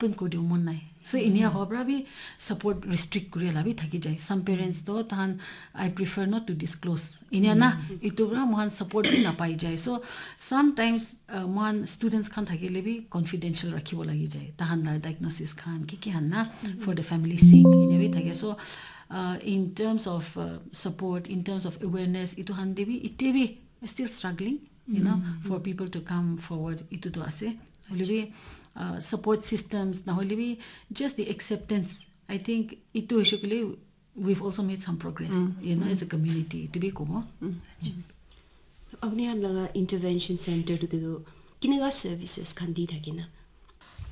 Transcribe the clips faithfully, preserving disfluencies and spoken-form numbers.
open kuri dibo mon nai. So inia howa para bi support restrict kuri la bi thaki jai. Some parents to tahan, "I prefer not to disclose." Inia na, itu para mohan support bi napai jai. So sometimes uh, mohan students khan thakile bi confidential rakhibo lagi jai. Tahan la diagnosis khan ki ki han na, for the family sake inia bi thake. So uh, in terms of uh, support, in terms of awareness, itu han de bi ite bi still struggling, you know, for people to come forward. Itu to ase. Hoile bi uh, support systems na hoile bi just the acceptance. I think itu hoise kile we've also made some progress, you know, as a community. Itu bi kobo. Apni khan laga intervention center tu tu kinega services khan di thakina?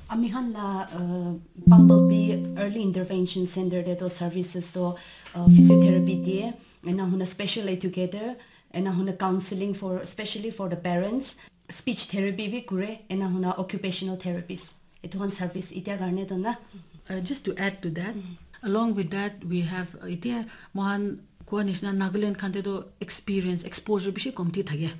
Ami khan la uh, Bumblebee Early Intervention Center de to services to uh, physiotherapy die, ena huna special educator, ena huna counseling for, especially for the parents, speech therapy bi kure, ena huna occupational therapist. Etu khan service itia karne to na. Uh, just to add to that, along with that, we have uh, itia mohan koa nishina Nagaland khan te to experience, exposure bishi komti thake.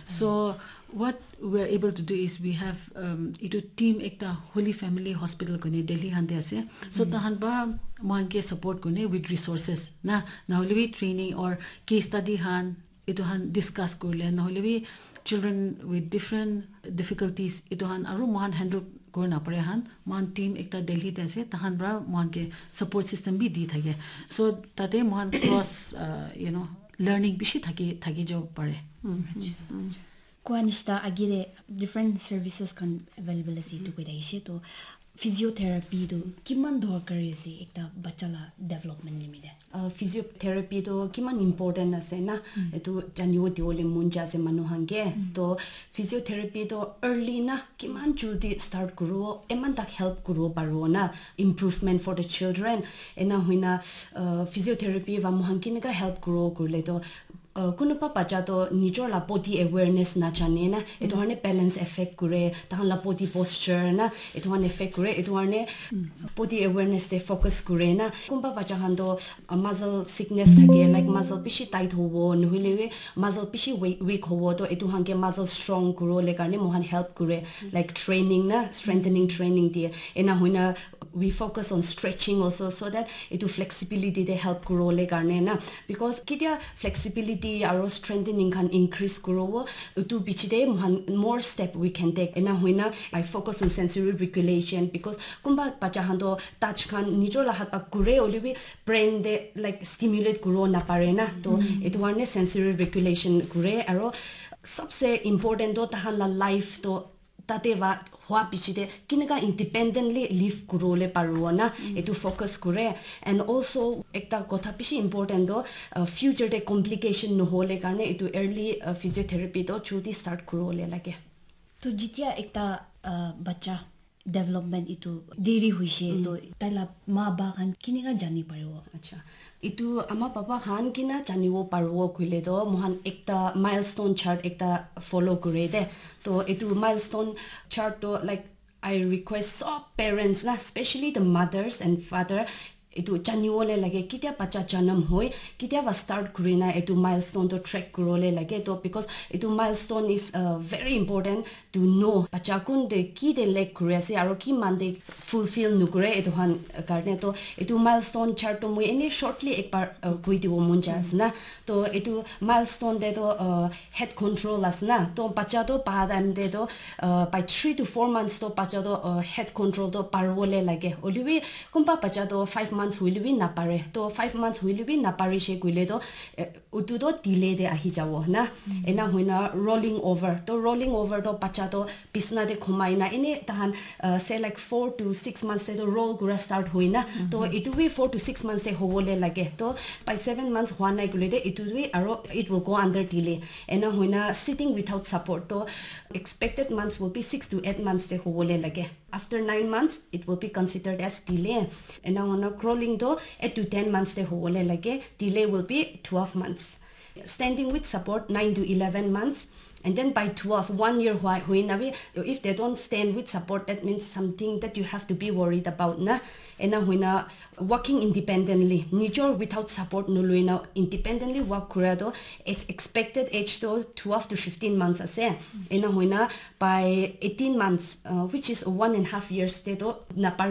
So what we are able to do is we have um, itu team ekta Holy Family Hospital kone Delhi khan te ase. So tahan ba mohan ke support kone with resources na, na hoile bi training or case study khan itu khan discuss kurile, na hoile bi children with different difficulties itu khan aru mohan handle kuri na pare khan, mohan team ekta Delhi te ase, tahan para mohan ke support system bi di thake. So tate mohan cross uh, you know, learning bishi thaki thaki jabo pare. Koa nishina agire different services khan available ase etu koi thakishe. To physiotherapy tu kiman dorkari ase ekta bacha la development nimite? Uh, physiotherapy to kiman important ase na, etu janibo diwole mon jai ase manu khan ke. To physiotherapy to early na kiman jaldi start kuribo, eman tak help kuribo paribo na, improvement for the children. Ena hoina uh, physiotherapy va mohan kineka help kuribo kurile to uh, kunuba bacha to nijor la body awareness na jane na, etu karne balance affect kure, tahan la body posture na, etu karne affect kure, etu karne body awareness te focus kure na. Kunba bacha khan to uh, muscle sickness thake, like muscle bishi tight hobo, nohole bi muscle bishi weak, weak hobo, to etu khan ke muscle strong kuriwole karne mohan help kure, like training na, strengthening training die. Ena hoina we focus on stretching also, so that etu flexibility te help kuriwole karne na, because ketia flexibility aro strengthening khan increase kuribo, etu piche te mohan more step we can take. Ena hoina I focus on sensory regulation, because kunba bacha khan to touch khan nijor la hat pa kure, hoile bi brain te like stimulate kuribo napare na. To etu karne sensory regulation kure, aro sabse important to tahan la life to tate va hua piche te kineka independently live kuriwole paribo na, etu focus kure. And also ekta kotha bishi important to uh, future te complication nohole karne etu early uh, physiotherapy to jaldi start kuriwole lage. To jitia ekta uh, bacha development etu deri hoise, to tai la ma ba khan kineka jani paribo? Acha, etu ama baba khan kina janibo paribo koile to mohan ekta milestone chart ekta follow kure de. To etu milestone chart to like I request sob parents na, especially the mothers and father, etu janiwole lage ketia bacha janam hoi, ketia va start kurina etu milestone to track kuriwole lage to, because etu milestone is uh, very important to know bacha kun de ki de lack kuri ase aro ki man de fulfill nukure etu khan karne. To etu milestone chart to moi ene shortly ekbar uh, koi dibo mon jai ase na. To etu milestone de to uh, head control ase na, to bacha to pa time te to uh, by three to four months to bacha to uh, head control to pariwole lage. Hoile bi kunba bacha to five months hoile bi napare, to five months hoile bi napare she koile to uh, utu to delay te ahi jabo na. Ena hoina rolling over, to rolling over to bacha to bisna te khumai na ene tahan uh, say like four to six months te to roll kura start hoi na. To etu bi four to six months te hobole lage. To by seven months hua nai koile de etu bi aro it will go under delay. Ena hoina sitting without support, to expected months will be six to eight months te hobole lage. After nine months it will be considered as delay. Ena hoina crawling to eight to ten months te hobole lage. Delay will be twelve months. Standing with support nine to eleven months. And then by twelve, one year hua- huina bi, if they don't stand with support, that means something that you have to be worried about na. Ena huina working independently, nijor without support nuluina independently work kura to, it's expected age to twelve to fifteen months ase. Ena huina by eighteen months, uh, which is one and a half years te to napar